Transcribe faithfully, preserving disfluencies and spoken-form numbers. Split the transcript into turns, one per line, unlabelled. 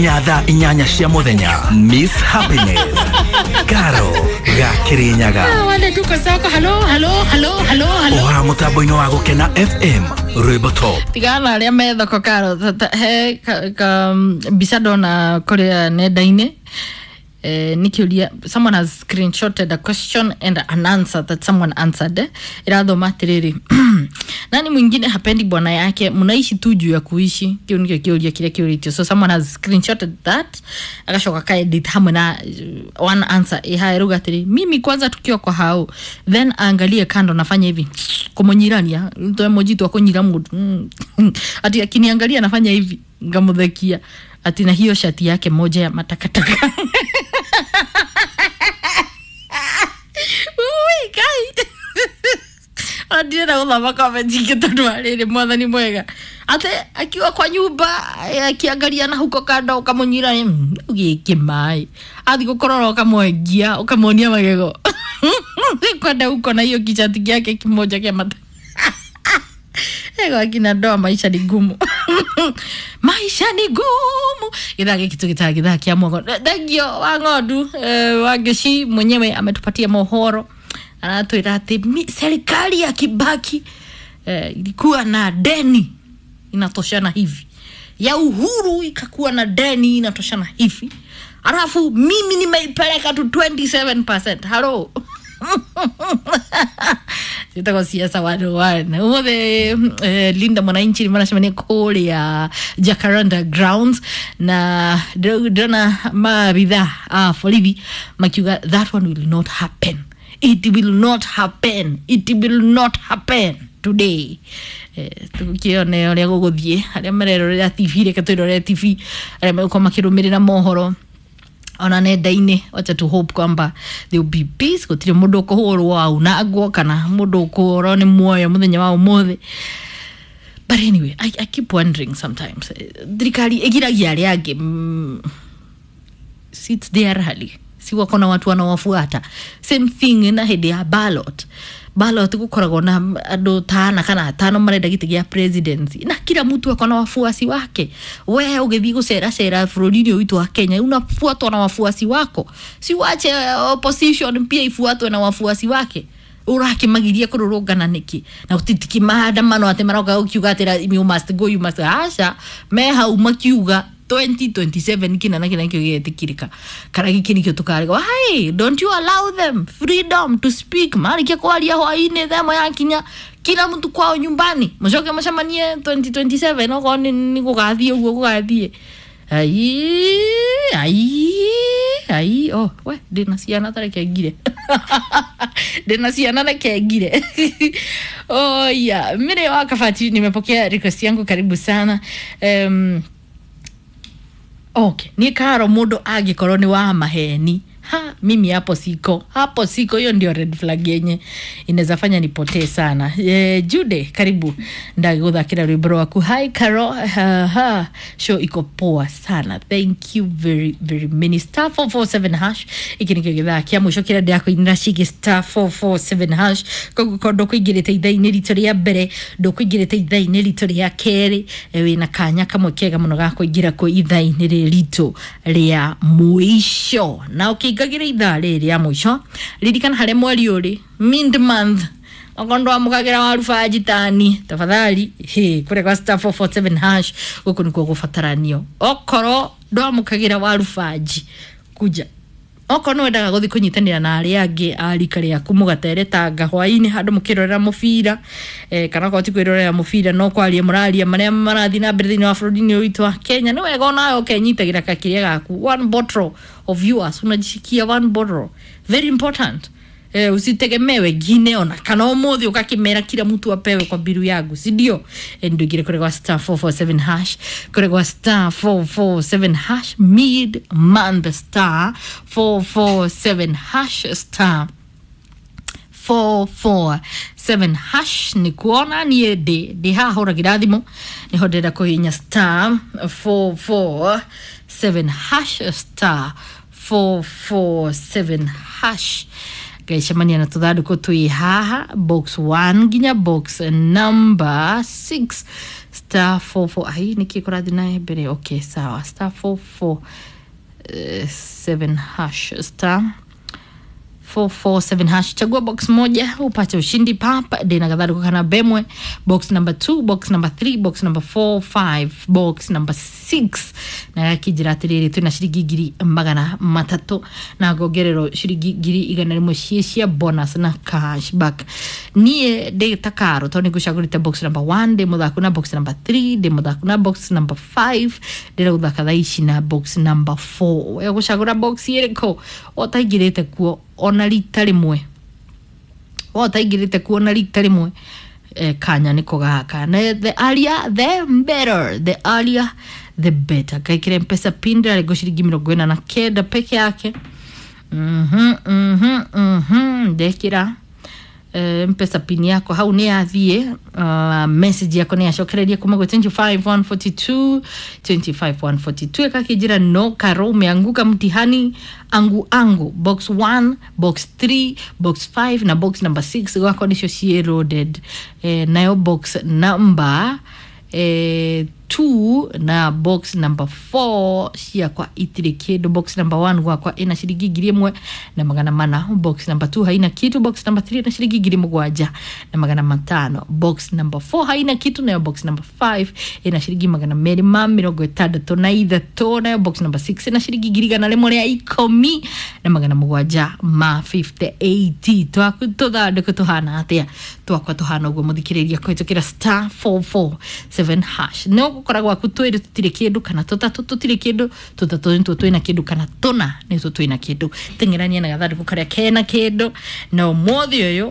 Thaa inyanya cia muthenya, Miss Happiness Karo ga Kirinyaga.
Wale tuko soko. Halo, halo, halo, halo, halo.
Oha mutambo-inĩ wa Gũkena F M, rwĩmbo top.
Tigana na arĩa me thoko, Karo. Ta- he ka, ka, mbica ndona kũrĩa nenda-inĩ, eh, nĩ someone has screenshotted a question and an answer that someone answered, eh. Irathoma atiriri, "Nani mwingine hapendi bwana yake? Mnaishi tu juu ya kuishi." Kiu nikio kiuria kiria kiuritio. So someone has screenshotted that, agacoka kaedit hamwe na uh, one answer ihae ruga atiri, "Mimi kwanza tukiwa kwa hao, then aangalie kando, nafanya hivi kumunyirania to emoji tu akunyira mundu mm. Ati akiniangalia nafanya hivi ngamuthekia, ati na hiyo shati yake moja ya matakataka." Ui, kai ndirenda guthoma comment ingĩ tondũ wa rĩrĩ, mwathani mwega, ate akiwa kwa nyumba, eh, akiangalia na huko kando ukamunyira gĩkĩ maĩ, athi gũkorora ũkamwengia ũkamuonia magego kwenda huko na hiyo kichati kyake kimoja kĩa mata. Ego akina ndoa, maisha ni gumu, maisha ni gumu. Githaa gĩkĩ tũgĩtaga githaa kĩa mwogo. Thengio wa ng'ondu, eh, wa ngĩci mwenyewe ametupatia mohoro, aratwĩra atĩ mi- serikali ya Kibaki eh, ilikuwa na deni inatoshana hivi, ya Uhuru ikakuwa na deni inatoshana hivi, alafu mimi nimeipeleka tu twenty-seven percent. Halo, ciĩtagwo Siasa one oh one. Umuthi eh, Linda Mwananchi nĩ maracemania kũrĩa Jacaranda Grounds, na ndĩrona maabitha a borithi makiuga that one will not happen, it will not happen, it will not happen today. Eh, tukione ũrĩa gũgũthiĩ. Arĩa marerorera T V, reke twĩrorere T V. Arĩa megũkorwo makĩrũmĩrĩra mohoro ona nenda-inĩ, wacha tu hope kwamba there will be peace, gũtirĩ mũndũ ũkũhũrwo aunangwo kana mũndũ ũkũrwo nĩ muoyo mũthenya wa ũmũthĩ. But anyway, I, I keep wondering sometimes, eh, thirikari ĩgiragia arĩa angĩ mm, seats there rally, si wako na watu wanawafuata? Same thing na hĩndĩ ya ballot. Ballot gukoragwo na andũ tana kana atano marenda gĩtĩ gĩa presidency, na kila mtu ako na wafuasi wake. We ũgĩthiĩ gũcera cera bũrũri-inĩ ũyũ witũ wa Kenya, unafuatwa na wafuasi wako. Si wache opposition pia ifuatwe na wafuasi wake? Ũrakimagiria kũrũrũngana nĩkĩ? Na gũtitiki maandamano atĩ maroka gũkiuga atĩ "You must go, you must." Aca, me hau makiuga twenty twenty-seven kina na kina nikio gĩetĩkĩrĩka kana gĩkĩ nikĩo tũkarega. Why don't you allow them freedom to speak? Marĩkia kwaria hwainĩ thaa ĩmwe yakinya, kila mtu kwao nyumbani, mũcoke mũcemanie twenty twenty-seven okorwo nĩ nĩ gũgathiĩ ũguo gũgathiĩ. Ai ai ai, oh, we ndĩna ciana, tareke ngire, ndĩna ciana, reke ngire. Oh yeah, mire wa Kabati, nimepokea request yangu, karibu sana. um, okay niĩ Karo, mũndũ angĩkorwo nĩ wa maheni, ha, mimi hapo siko, hapo siko. Hiyo ndio red flag yenye inaweza fanya nipotee sana. E, Jude, karibu, ndagũthakĩra rwĩmbo rwaku. Hi Caro, ha, ha. Show iko poa sana, thank you very very many. Star four four seven hash, iki nikĩo gĩthaa kĩa mũico kĩrĩa ndĩrakũinĩra ciĩgiĩ star four four seven hash. Koguo korwo ndũkũingĩrĩte ithaa-inĩ ritũ rĩa mbere, ndũkũingĩrĩte ithaa-inĩ ritũ rĩa kerĩ, eh, wĩna kanya kamwe kega mũno ga kũingĩra kwĩ ithaa-inĩ rĩrĩ ritũ rĩa mũico. Na ũkĩingagĩra ithaa rĩrĩ rĩa mũico, ririkana harĩa mweri ũrĩ mid month, okorwo ndwamũkagĩra waruba njitani, tafadhali he kũrĩa kwa star four four seven hash, gũkũ nĩkuo gũbataranio. Okorwo ndwamũkagĩra warubanji, kuja. Okorwo nĩ wendaga gũthiĩ kũnyitanĩra na arĩa angĩ a rika rĩaku, mũgateretanga hwaĩ-inĩ handũ mũkĩrorera mũbira, eh, kana okorwo ti kwĩrorera mũbira, no kwaria mũraria marĩa marathiĩ na mbere thĩinĩ wa bũrũri-inĩ ũyũ witũ wa Kenya, nĩ wega onawe ũkenyitagĩra kakĩrĩa gaku, one bottle of yours, unajishikia one bottle, very important. Eh, usitegemee wengine, ona kana umuthi ukakimera kila mtu apewe kwa biru yangu, si ndio? Eh, ndio kure kwa star four four seven hash, kure kwa star four four seven hash, mid month, star four four seven hash, star four four seven hash. Nĩ kuona niĩ ndĩ ndĩ haha hũragĩra thimũ, nĩho ndĩrenda kũhihinya star four four seven hash, star four four seven hash, ngaicemania na tũthandũkũ twĩ haha, box one nginya box number six. Star four four, ai nĩkĩ kũrathiĩ na mbere? Okay, sawa. Star four four eh, seven hash, star four four seven hash, chagua box moja upate ushindi pap dena kadhalika kana bemwe box number two, box number three, box number four, five, box number six. Na gakijira atiriri, twina ciringi ngiri magana matatu na ngongererwo ciringi ngiri igana rimwe ciĩ cia bonus na cashback. Niĩ ndĩ ta karo tondũ nĩ ngũcagũrĩte box number one, ndĩ mũthaku na box number three, ndĩ mũthaku na box number five, ndĩrenda gũthaka thaa ici na box number four. We ũgũcagũra box ĩrĩkũ ũtaingĩrĩte kuo ona rita rĩmwe? Ũtaingĩrĩte kuo ona rita rĩmwe, eh, kanya nĩko gaka. Na the earlier the better, the earlier the better. Kaikire Mpesa pin ndĩrarengwo ciringi mĩrongo ĩna na kenda peke yake. mhm mhm mhm ndekĩra eh, Mpesa pin yako hau nĩ yathiĩ. uh, message yako nĩ yacokereria kuma gwĩ twenty-five one forty-two, twenty-five one forty-two, ĩkakĩnjĩra no Karo, umeanguka mtihani angu angu. Box one, box three, box five na box number six gwakwa nĩcio ciĩ loaded. eh, nayo box number eh, two na box number four ciakwa itirĩ kĩndũ. Box number one gwakwa ĩna ciringi ngiri ĩmwe na magana mana, box number two haina kitu, box number three ĩna ciringi ngiri mũgwanja na magana matano, box number four haina kitu, nayo box number five ĩna ciringi magana merĩ ma mĩrongo ĩtandatũ na ithatũ, nayo box number six ĩna ciringi ngiri igana rĩmwe rĩa ikũmi na magana mũgwanja ma fifty-eight. Twaku tũthandũkũ tũhana atĩa? Twakwa tũhana ũguo, mũthikĩrĩria, kũhĩtũkĩra star four four seven hash. No gũkora gwaku twĩrĩ tũtirĩ kĩndũ kana tũtatũ tũtirĩ kĩndũ, tũtatũ nĩtuo twĩna kĩndũ kana tũna nĩtuo twĩna kĩndũ. Teng'erania na gathandũkũ karĩa kena kĩndũ na ũmũthĩ ũyũ.